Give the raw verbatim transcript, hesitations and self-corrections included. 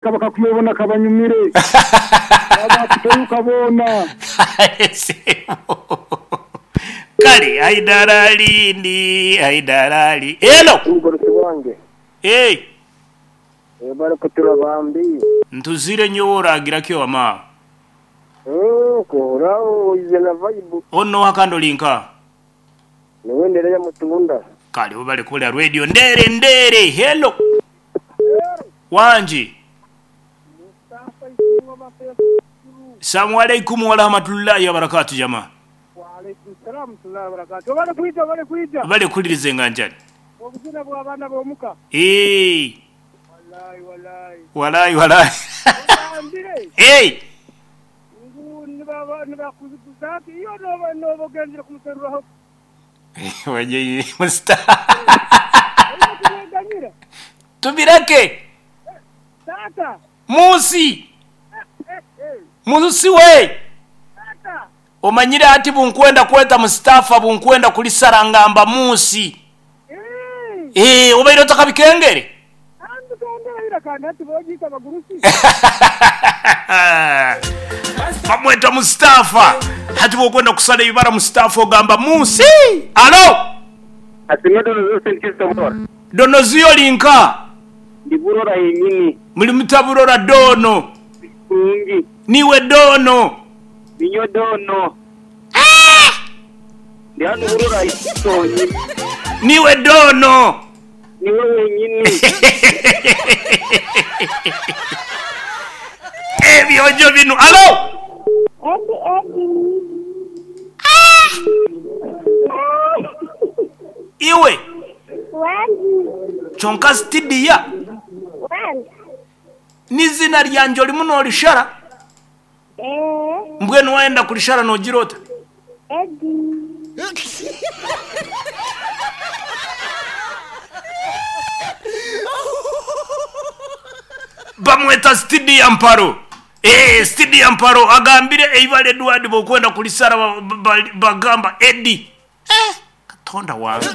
Bakakuyobona kabanyumire abakuteruka boona. Kale Haidara ndi Haidara Hello. Omugurusi wange. Hey. Bari kutura bambi. Ntuzire nyowe oragira kyo wama. Eh, kora oize na vibe. Ono hakando linka. Niwe nderera mutunda. Kale ubale kula radio ndere ndere. Hello. Wanji. Salamu alaikum wa rahmatullahi wa barakatuh jamaa. Wa alaikum salam wa barakatuh. Bale kuija bale kuija. Bale kulirize nganjani. Obuzina bwa bana bomuka. Eh. Wallahi wallahi. Wallahi wallahi. Ambire. Eh. Ngu niba niba kuzati iyo no no bogendera kumuseruraho. Waje musta. Tuganyira. Tubireke. Tata. Musi. Eh eh. Musi we. Tata. Omanyire ati bunkwenda kweta Mustafa bunkwenda kulisarangamba musi. Eh. Eh, obaire otakabikengere. Andu kondera ira kandi ati bojita bagurusi. Bamweta Mustafa. Hati bwokwenda kusala ibara Mustafa ogamba musi. Alo. Asime dono zose nkisobora. Donoziyo linka. Ndi burora yenyini. Muli mutaburora dono. Kungi. Niwe dono. Ninyo dono. Ndi hano burora isonyi. Niwe dono. Niwe wenyini. Ebyojo bino. Alo. Edi Edi. Iwe. Wangi. Chonka stidiya. Wangi. Nizina ryanje olimu nolishara. Eh. Mbwenu waenda kulishara nogirota. Edi. Bamweta stidiya mparo. Eh, stidiya mparo agambire eibale Edward bokwenda kulisara ba- ba- bagamba Edi. Eh, katonda wange.